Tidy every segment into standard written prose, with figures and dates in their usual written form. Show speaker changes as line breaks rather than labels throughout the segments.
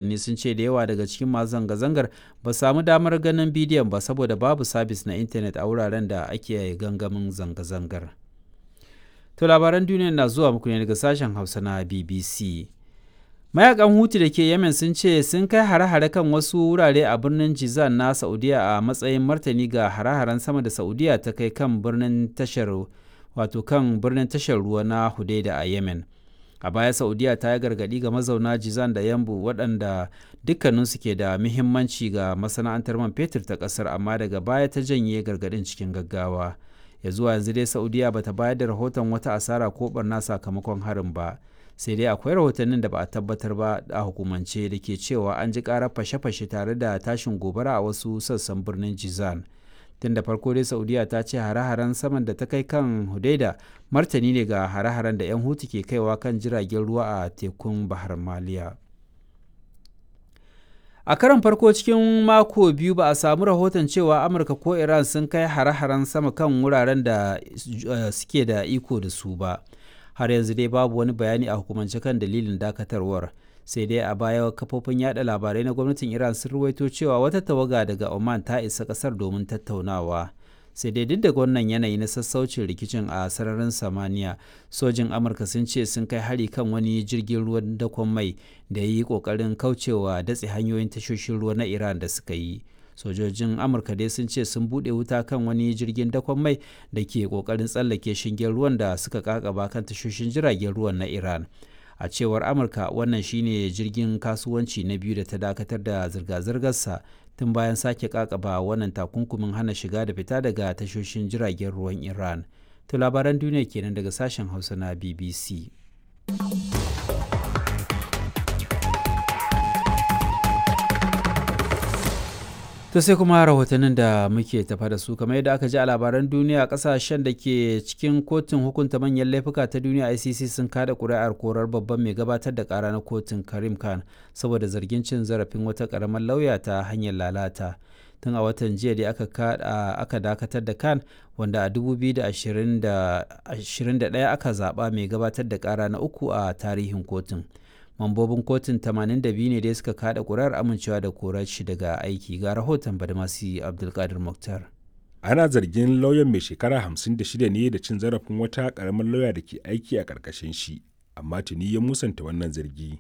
Rahotanni sun ce da yawa daga cikin masu zanga-zangar ba su sami damar ganin bidiyon ba saboda babu sabis na intanet a wuraren da ake gangamin zanga-zangar. To labaran duniya na zuwa muku ne daga sashen Hausa na BBC. Mayakan Hutu da ke Yemen sun ce sun kai hare-hare kan wasu wurare a birnin Jizan na Saudiya a matsayin martani ga hare-haren sama da Saudiya ta kai kan birnin tashar wato kan birnin tashar ruwa na Hudaida a Yemen. A baya Saudiya ta yi gargaɗi ga mazauna Jizan da Yambu waɗanda dukkaninsu ke da muhimmanci ga masana'antar man fetur ta ƙasar amma daga baya ta janye gargaɗin cikin gaggawa. Ya zuwa yanzu dai Saudiya bata bayar da rahoton wata asara ko barna sakamakon harin ba. Sai dai akwai rahotannin da ba a tabbatar ba a hukumance da ke cewa an ji karar fashe-fashe tare da tashin gobara a wasu sassan birnin Jizan. Tun da farko dai Saudiya ta ce hare-haren saman da ta kai kan Hudaida martani ne ga hare-haren da 'yan Hutu ke kaiwa kan jiragen ruwa a tekun Bahar Maliya. A karon farko cikin mako biyu ba a samu rahoton cewa Amurka ko Iran sun kai hare-haren sama kan wuraren da suke da iko da su ba. Har yanzu dai babu wani bayani a hukumance kan dalilin dakatarwar. Sai dai a baya kafofin yada labarai na gwamnatin Iran sun ruwaito cewa wata tawaga daga Oman ta isa kasar domin tattaunawa. Sai dai duk da wannan yanayi na sassaucin rikicin a sararin samaniya, sojin Amurka sun ce sun kai hari kan wani jirgin ruwan dakon mai da ya yi kokarin kaucewa datse hanyoyin tashoshin ruwa na Iran da suka yi. Sojojin Amurka dai sun ce sun buɗe wuta kan wani jirgin dakon mai da ke kokarin tsallake shingen ruwan da suka kakaba kan tashoshin jiragen ruwan na Iran. A cewar Amurka, wannan shine jirgin kasuwanci na biyu da ta dakatar da zirga-zirgarsa tun bayan sake kakaba wannan takunkumin hana shiga da fita daga tashoshin jiragen ruwan Iran. To labaran duniya kenan daga sashen Hausa na BBC. To sai kuma rahotannin da muke tafa da su. Kamar yadda aka ji a labaran duniya, kasashen da ke cikin kotun hukunta manyan laifuka ta duniya ICC sun kada kuri'ar korar babban mai gabatar da kara na kotun Karim Khan saboda zargin cin zarafin wata karamar lauya ta hanyar lalata. Tun a watan jiya da aka dakatar da Khan, wanda a 2021 aka zaba mai gabatar da kara na uku a tarihin kotun. Mambobin kotun 82 ne dai suka kada kurar amincewa da korar shi daga aiki. Ga rahoton Badmasi Abdulkadir Muktar.
Ana zargin lauyan mai shekara 56 ne da cin zarafin wata karamar lauya da ke aiki a karkashin shi, amma tuni ya musanta wannan zargi.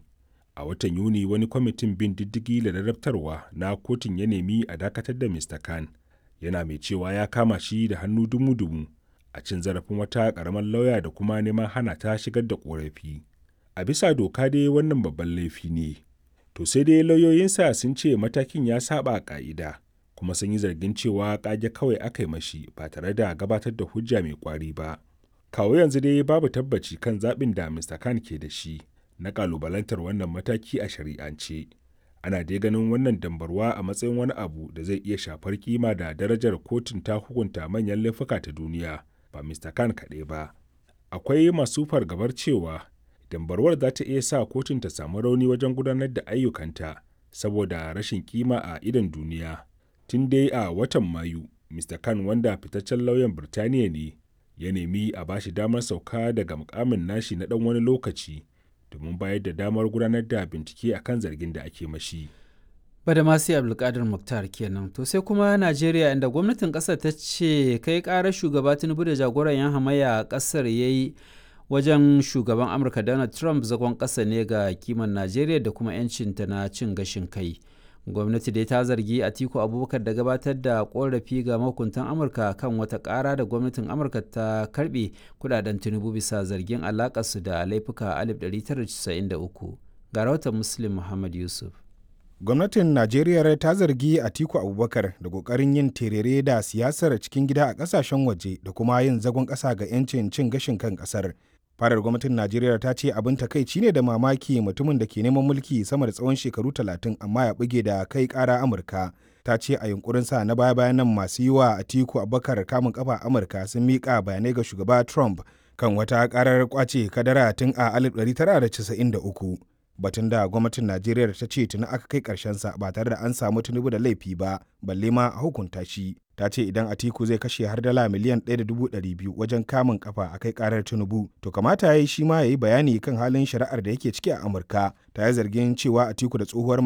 A watan Yuni wani kwamitin bin diddigi da ladabtarwa na kotun ya nemi a dakatar da Mr. Khan, yana mai cewa ya kama shi da hannu dumu-dumu a cin zarafin wata karamar lauya da kuma neman hana ta shigar da korafi. A bisa doka dai wannan babban laifi ne. To sai dai lauyoyinsa sun ce matakin ya saba ka'ida, kuma sun yi zargin cewa kage kawai aka yi mashi ba tare da gabatar da hujja mai kwari ba. Kawo yanzu dai babu tabbaci kan zaɓin da Mr. Khan ke da shi na kalubalantar wannan mataki a shari'ance. Ana dai ganin wannan dambarwa a matsayin wani abu da zai iya shafar kima da darajar kotun ta hukunta manyan laifuka ta duniya, ba Mr. Khan kaɗai ba. Akwai masu fargabar cewa dambarwar za ta iya sa kotun ta samu rauni wajen gudanar da ayyukanta saboda rashin kima a idon duniya. Tun dai a watan Mayu, Mr. Khan, wanda fitaccen lauyan Birtaniya ne, ya nemi a bashi damar sauka daga mukamin nashi na dan wani lokaci domin bayar da damar gudanar da bincike akan zargin da ake mashi.
Badamasi Abdulkadir Muktar kenan. To sai kuma Najeriya, inda gwamnatin kasar ta ce kai karar shugaba Tinubu da jagoran yan hamayya a kasar ya yi wajen shugaban Amurka Donald Trump zagon ƙasa ne ga kiman Najeriya da kuma 'yancinta na cin gashin kai. Gwamnati dai ta zargi Atiku Abubakar da gabatar da korafi ga mahukuntan Amurka kan wata ƙara da gwamnatin Amurka ta karbe kudaden Tinubu bisa zargin alakarsu da laifuka 1993. Ga rahoton Muslim Muhammad Yusuf.
Gwamnatin Najeriya ta zargi Atiku Abubakar da kokarin yin terere da siyasar cikin gida a kasashen waje da kuma yin zagon ƙasa ga 'yancin cin gashin kan ƙasar. Farar gwamnatin Najeriya ta ce abin takaici ne da mamaki mutumin da ke neman mulki sama da tsawon shekaru 30 amma ya buge da kai kara Amurka. Ta ce a yunkurin sa na baya bayan nan masu yi wa Atiku Abubakar kamun kafa Amurka sun miƙa bayanai ga shugaba Trump kan wata karar kwace kadara tun a 1993, batun da gwamnatin Najeriya ta ce tuni aka kai karshen sa ba tare da an samu Tinubu da laifi ba, balle ma a hukunta shi. Ta ce idan Atiku zai kashe har dala miliyan 1.200 wajen kamun kafa a kai karar Tinubu, to kamata ya yi shi ma ya yi bayani kan halin shari'ar da yake ciki a Amurka. Ta yi zargin cewa Atiku da tsohuwar